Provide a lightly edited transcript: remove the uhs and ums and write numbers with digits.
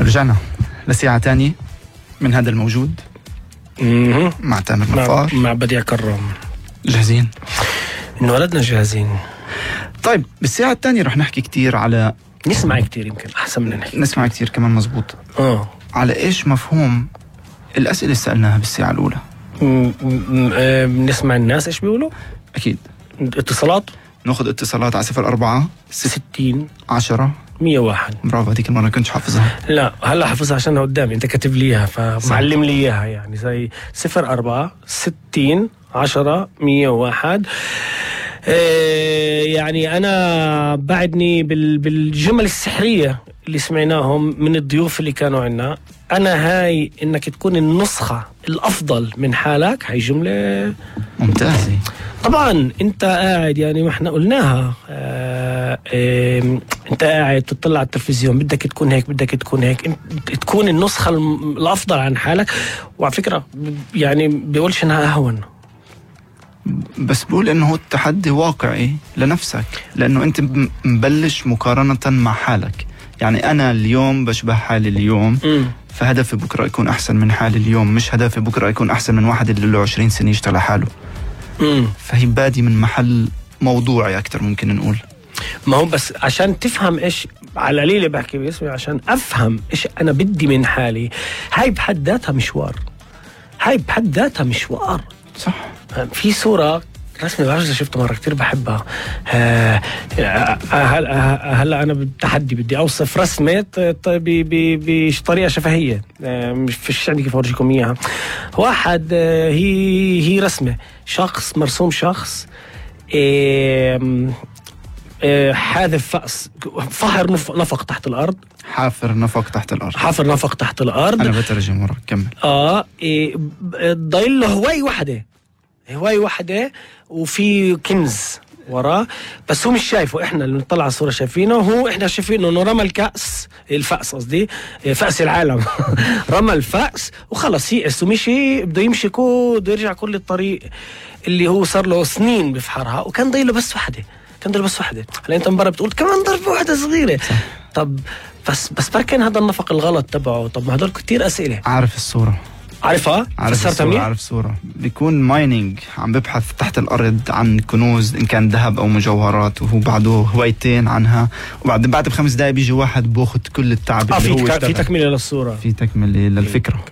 ورجعنا لساعة تانية من هذا الموجود مع تامر نفار مع بديع كرام. جاهزين؟ انولدنا جاهزين. طيب بالساعة التانية رح نحكي كتير على نسمع كتير، يمكن أحسن من نحكي. نسمع كتير كمان، مزبوط. على إيش مفهوم الأسئلة اللي سألناها بالساعة الأولى. نسمع الناس إيش بيقولوا. أكيد. اتصالات، ناخد اتصالات على 04 60 10 101. برافو، هذيك المرة كنتش حافظها. لا هلا حافظها عشانها قدامي، انت كاتب لي اياها فمعلم لي اياها، يعني زي 04 60 10 101. يعني انا بعدني بالجمل السحرية اللي سمعناهم من الضيوف اللي كانوا عنا. انا هاي انك تكون النسخة الافضل من حالك، هاي جملة ممتازة. طبعا انت قاعد، يعني ما احنا قلناها، انت قاعد تطلع على التلفزيون، بدك تكون هيك بدك تكون هيك، تكون النسخة الافضل عن حالك. وعلى فكرة يعني بيقولش انها اهون، بس بقول انه هو التحدي واقعي لنفسك، لانه انت مبلش مقارنة مع حالك. يعني انا اليوم بشبه حالي اليوم، فهدفي بكرة يكون احسن من حالي اليوم، مش هدفي بكرة يكون احسن من واحد اللي له 20 سنة يشتغل على حاله. فهي بادي من محل موضوعي اكتر ممكن نقول. ما هو بس عشان تفهم ايش على القليل بحكي باسمي، عشان افهم ايش انا بدي من حالي. هاي بحد ذاتها مشوار، هاي بحد ذاتها مشوار. صح. في صورة رسمي بعرف إذا شفتها مرة كتير بحبها. هلا أنا بالتحدي بدي أوصف رسمة بطريقة شفهية، مش فيش عندي كيف أورجيكم إياها. واحد هي رسمة شخص مرسوم، شخص حاذف فأس، فهر نفق تحت الأرض، حافر نفق تحت الأرض، حافر نفق تحت الأرض. أنا بترجم وراك، كمل. ضايل له هواي وحدة وفي كنز وراه، بس هو مش شايفه. احنا اللي نطلع على الصورة شايفينه، هو احنا شايفينه انه رمى الفأس قصدي فأس العالم رمى الفأس وخلص يئس ومشي، بده يمشي بده يرجع كل الطريق اللي هو صار له سنين بفحرها، وكان ضايله بس وحدة. هلا انت مباراه بتقول كمان ضربة واحدة صغيرة. طب بس بركن هذا النفق الغلط تبعه. طب ما هدول كتير أسئلة. عارف الصورة؟ عارفها؟ عارف صورة بيكون مايننج، عم ببحث تحت الأرض عن كنوز إن كان ذهب أو مجوهرات، وهو بعده هوايتين عنها، وبعد ب5 دقايق بيجي واحد بأخذ كل التعب اللي هو اشتغل. في تكملة للصورة، في تكملة للفكرة.